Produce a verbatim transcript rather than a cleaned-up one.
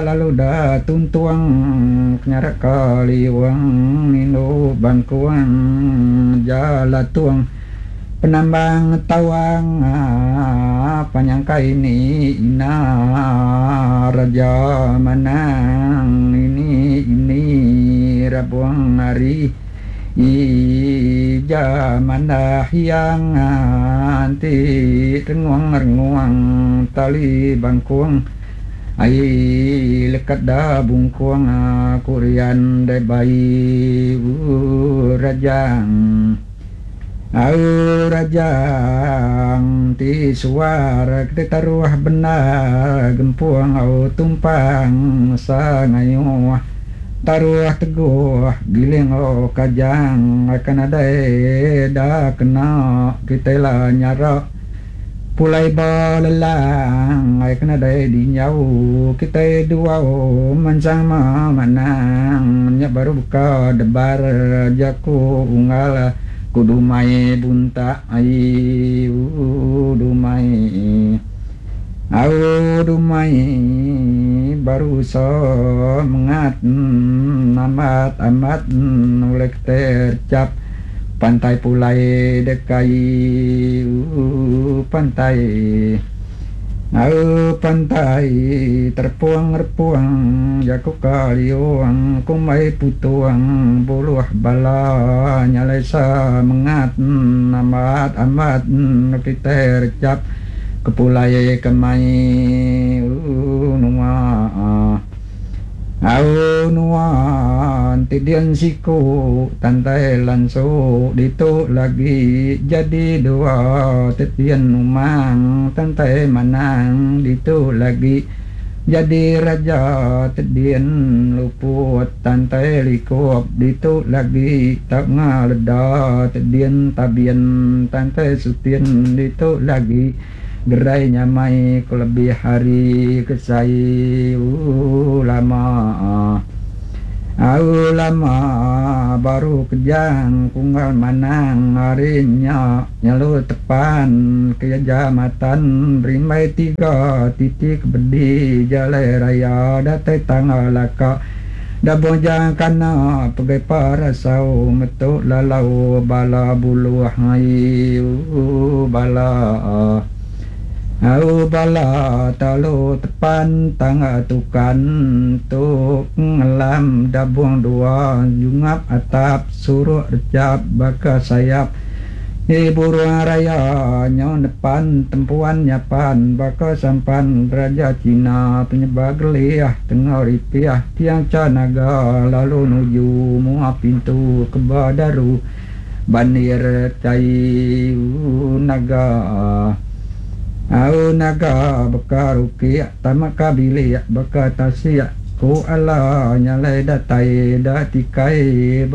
Lalu da tuntung kenyarak kaliung indu bangkung jalatung penambang tawang penyangka ini ina raja manang ini ini rabung hari ija manah yang ti renguang-renguang tali bangkung ai lekat da bungkung kurian dai bai rajang au rajang ti suar ke taruh bendar gempung au tumpang sangayuh taruh teguh giling au kajang akan nadai da kena kitai la nyara pulai ba lelang ai kena dai dinyau kitai duau mansang manang nya baru buka debar jaku unggal ku dumai buntak ai dumai au dumai baru semengat amat amat ulih tercap pantai pulai dekai pantai au pantai terpuang repuang jaku kaliung kumbai putung buluh bala nyalai semengat amat amat kitai recap kepulai kemai nua au nuan ti dian siku tantai lansu ditu lagi jadi dua tetian umang tantai manang ditu lagi jadi raja tedian luput tantai likup ditu lagi tau ngaleda tedian tabian tantai sutin ditu lagi gerai nyamai ku lebih hari kesai lama au lama baru kejang punggal manang hari nya nyalu tepan kejamatan berimbai tiga titik bedi jalai raya datai tangga laka dabung jang kana pegai parasau metu lalau bala buluh ai bala au bala talu tepan tangga tukan tu ngelam dabung dua jungap atap suruk recap baka sayap e burung raya nyau nepan tempuan nyapan baka sampan raja Cina penyeba geliah tengah ripiah tiang canaga lalu nuju mua pintu keba daru bandir tai naga au naga beka rukik tama ka bilik beka tasik ku ala nyalai datai da tikai.